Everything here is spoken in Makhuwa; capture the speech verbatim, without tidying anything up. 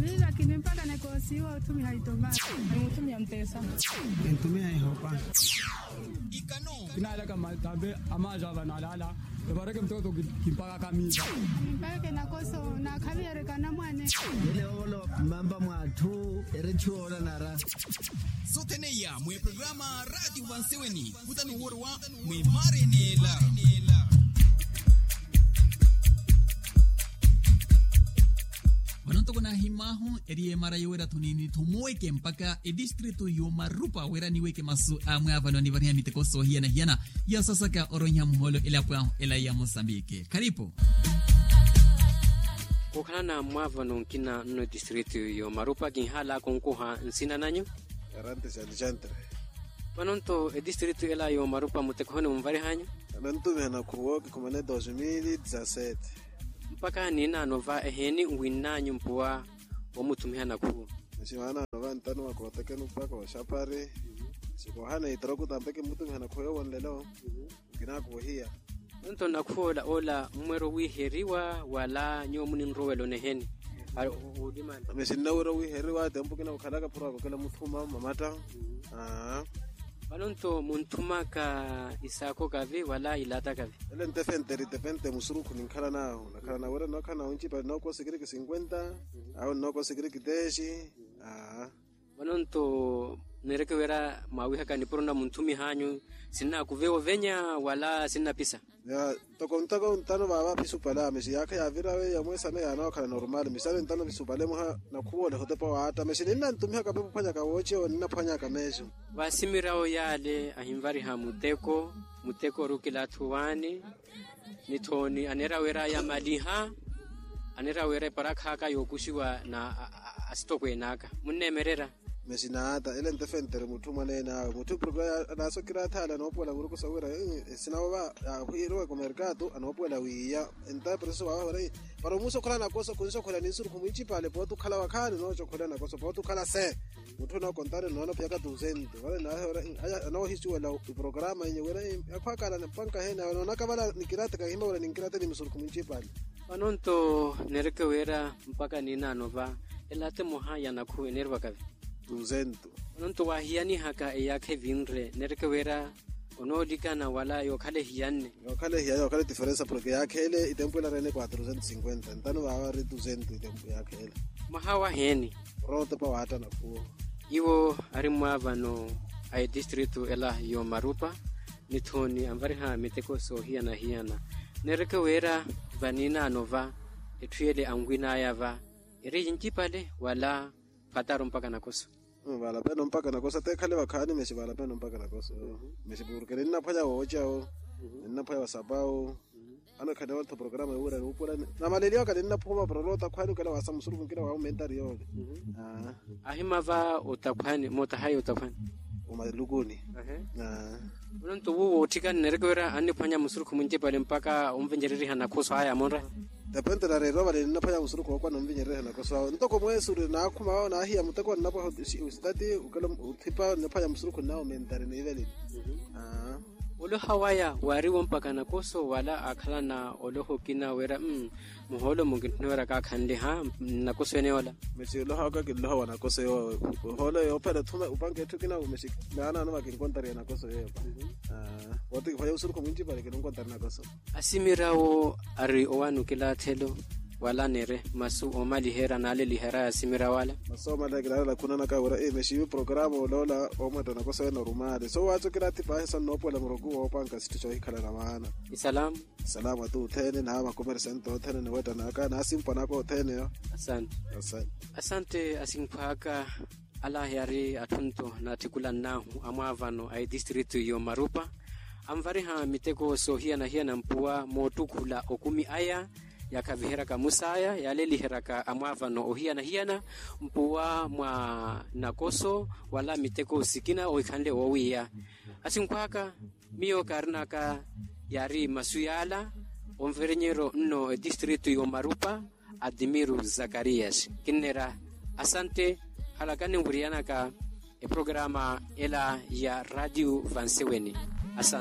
Miila kini mpakana koosiwa othumiha itomati. Ni muthumiha mutesa. Entumiha ehopa. Ikano kinaalaka matambe amaaja vanalala. Evareke mutoko kimpaka kamiza. Kimpaka kenakoso nakhaviyereka namwane. Ele olo mmampa mwa atthu eretthu oola nara. Sothene iya mweprograma radio vanseweni. Kutani woriwa mwimarenela. Vano ntoko nahimmwahu eri emara yowerya thunini thumuweke mpaka edistritu yomarupa wira niweke masu amwe avalo anivariha miteko soohiyana-hiyana. Yasasaka oroiha muholo elapo ahu ela ya mosambike kharipu. Khukhalana mwaavano nkina nno edistritu yomarupa kinhala kunkuha nsina nanyu. Arante xanixantre. Vano nto edistritu ela yomarupa mutekohoni munvarihanyu. Anantumiha nakhuwo kikhumane dos mil dezasete. Mpaka ninaano va eheeni nwinnanyu mpuwa womuthumiha nakhuwo. Nixi vaanaano va ntano wa kootekeni mpaka oxapari. Xikoohana itroku tampe kimutumiha nakhuwo yowonlelo. Nkinakuhiya. Nto nakhuwo ola ola mmwera owiheriwa wala nyuwo muninrowela oneheni? Mixi nnawerya owiheriwa tempu kina khukhalaka phuro akokela muthuma mamatta. Vano nto munthumaka isaakho kavi wala ilatta kavi? Ele ntefente ritefente musurukhu ninkhala nahu nakhala nawerya nookhala nahu ncipale nookosikiriki cinkwenta. Awo nookosikiriki tesi. Vano nto nireke wira mwaawihaka nipuro na munthumihanyu sinnakuvewa ovenya wala sinnapisa? Ntoko ntoko ntano vaava pisupale amexi yaakha yaavira weiya mweesano yaanookhala normal misano ntano pisupale mwaha nakhuwole hotepa waatta mexi ninnantumihaka pepuphwanyaka woocewa ninnaphwanyaka meexo. Vaasimirawo yaale ahinvariha muteko muteko ori okilaathuwaani. Nithooni aneera wira yamaliha aneera wira eparakhaaka yookuxiwa na asitokweene aka munneemererya. Mexi naata ele ntefentere mutthu mwaneen'awe mutthu purke anaasokiratha ale anoopuwela muruku sowira esina ova yaahiruweke omerkatu anoopuwela wiiya. Entaye proseso waawahira para omuusa okhala nakoso khunsokhwela ninsurukhu mwincipale pooti okhala wakhaani nooca okhala nakoso pooti okhala se. Mutthu onookontari noona phiyaka tuusenti vale naahe ora anoohisuwela iprograma inye wira yakhwakala mpanka heene awe noonaka vale nikirate kahimba wira ninkirate ni musurukhu mwincipale. Vano nto neereke wira mpaka ninaanova elaate moha ya nakhu eneerivaka vi? Tuusenti. Vano nto waahiyanihaka eyaakha evinre neereke wira onoolikana wala yookhala ehiyanne? Yookhala ehiyanne yookhala etiferensa porke yaakheele itempu ela reene quatro centos cinquenta ntano vaava ari tuusenti itempu yaakheele. Mwaha waheeni? Orowa otepa waatta nakhuwo. Iwo ari mwaavano a etistritu ela yoomarupa nithooni anvariha miteko soohiyana-hiyana. Neereke wira vaninaano va etthu yele anwin'aya va eri yincipale wala phataru mpaka nakoso? Valapeno mpaka nakoso ateekhale vakhaani mexi valapeno mpaka nakoso. Mexi purke ninnaphwanya woocawo ninnaphwanya vasapawo. Anokhale ontho programa yowira nuupurani namaleliwaka ninnaphuma para olowa otakhwani okela waasa musurukhu nkina waamumentari yoole. Ahimava otakhwani mootahayi otakhwani? Omalukuni. Ononto wuwo otthikani neereke wira anniphwanya musurukhu mwincipale mpaka onvincereriha nakhoso aya amonra. Depente nareeriwa vale ninnaphwanya musurukhu wookwana onvincereriha nakhoso awe ntoko mweesuri naakhuma wawo naahiya muteko nnapwaha ositati okela othipa nniphwanya musurukhu nnawo mentari niivelini. Oloha waya waariwo mpaka nakoso wala aakhalana oloha okina wira muhoolo mukintthunewerya kaakhanliha nnakoso ene ola? Mexi oloha waka kinloha wa nakoso yoowo. Ohoolo yoophera thuma opanka etthu kina mexi naanaano vakinkontariya nakoso yeeyo. Pooti kiphwanya osurukhu mwincipale kinonkontari nakoso. Asimirawo ari owaana okilaathelo wala neere masu oomaliherya naaleliherya asimirawo ala. Masu oomaliherya kinaalela khunanaka wira mexi iwe programa oloola oomwetta nakoso ene orumaale so waatsokera ati paahi so nnoopuwela muruku woopanka sitthu soohikhalana vaana. Isalamu. Isalamu ati othene na makomersante othene ni wetta naka na asimpwa naka othene yo. Asante. Asante. Asante asimphwaka. Ala yari atthu nto naatthikulannahu amwaavano a etistritu yoomarupa anvariha miteko soohiyana-hiyana mpuwa moottukhula okumi aya yaakhaviheryaka musaya yaaleliheryaka amwaavano ohiyana-hiyana mpuwa mwa nakoso wala miteko sikina ohikhanle woowiiya. Asinkhwaka miyo kaarinaka yaari masu yaala. Onverenyeryo nno etistritu yoomarupa adimiru zakarias kinneera asante. Halakani nwiriyanaka eprograma ela ya radio vanseweni. Asante.